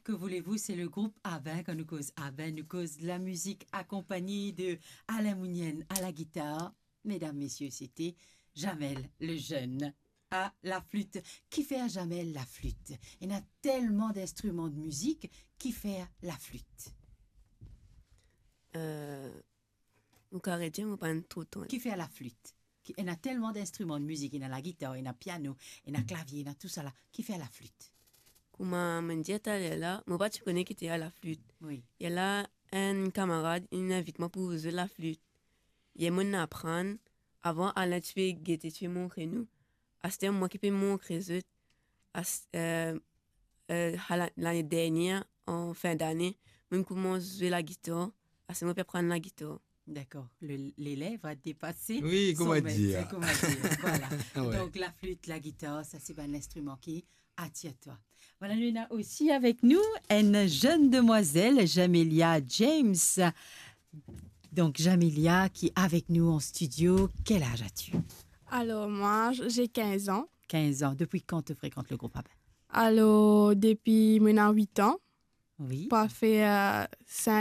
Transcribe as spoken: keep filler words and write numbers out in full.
Que voulez-vous, c'est le groupe Abin. Kan nou koz Abin, nou koz lamizik akonpagne de Alain Mounienne à la guitare. Mesdames, messieurs, c'était Jamel Lejeune à la flûte. Kifer Jamel laflit? Ena telman dinstriman de mizik, kifer laflit? Euh, ou kapav redir, mo pa tro tann. Kifer laflit? Ki, ena telman dinstriman de mizik, ena lagitar, ena piano, ena klavie, ena tousala. Kifer laflit? Kouma mo dir taler la, mo pa ti kone ki ete laflit. Wi. Ena enn kamarad, li invit mwa pou zwe laflit. Ena mo aprann, avan Alain ti pe gete, ti pe montre nou. Aster mwa ki pe montre zot. As, euh, euh, a la, lane dernier, an fin dane, mo koumans zwe lagitar. Aster mo pe aprann lagitar. D'accord. Le, l'élève a dépassé Oui, son comment maître, dire. Comment dire. Voilà. Ouais. Donc, la flûte, la guitare, ça, c'est un instrument qui attire toi. Voilà, nous avons aussi avec nous une jeune demoiselle, Jamelia James. Donc, Jamelia, qui est avec nous en studio. Quel âge as-tu? Alors, moi, j'ai quinze ans. Quinze ans. Depuis quand tu fréquentes le groupe Abin? Alors, depuis maintenant huit ans, Oui. ça fait euh, cinq